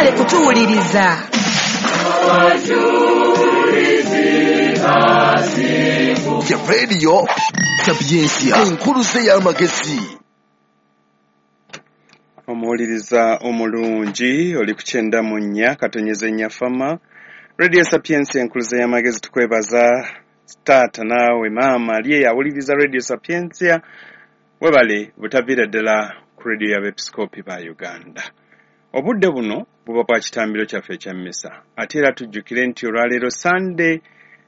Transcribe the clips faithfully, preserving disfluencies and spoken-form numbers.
Mwebale kutuwuliriza. Ya Radio Sapientia, enkuluze y'amagezi. Omuwuliriza omulungi oli ku kyenda mu nnya katonyeze nnya fama Radio Sapientia, enkuluze y'amagezi. Tukwebaza taata naawe maama ali eyo awuliriza Radio Sapientia, webale butaviira ddala ku radio y'abepisikoopi ba Uganda. Obudde buno buba bwa kitambiro kyaffe ekya mmisa, ate era tujjukire nti olwaleero Sande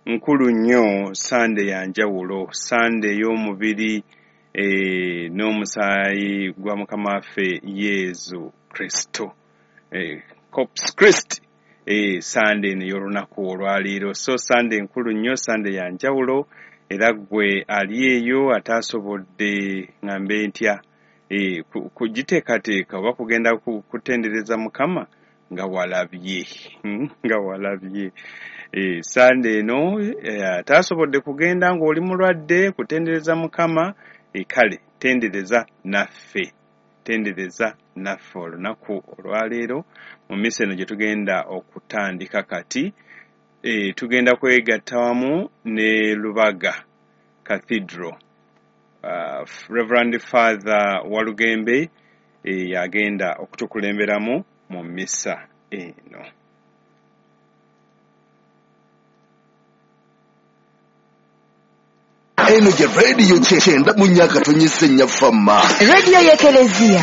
nkulu nnyo, Sande ya njawulo, Sande ey'omubiri e, n'omusaayi gwa Mukama waffe Yesu Kristo, e, Corpus Christi, e, Sande eno ey'olunaku olwaleero. So Sande nkulu nnyo, Sande ya njawulo, era ggwe ali eyo ataasobodde ŋŋambe ntya e, kugiteekateeka oba kugenda kutendereza Mukama nga walabye nga walabye e, Sande eno ataasobodde kugenda ng'oli mulwadde kutendereza Mukama, e, kale tendereza naffe, tendereza naffe olunaku olwaleero mu misa eno gye tugenda okutandika kati. E, tugenda kwegatta wamu ne Lubaga Cathedral. Uh, Reverend Father Walugembe e, yagenda okutukulemberamu mu misa eno. Eno ye Radio kyenda mu nnya katonyeze nnya fama, Radio y'Ekelezia.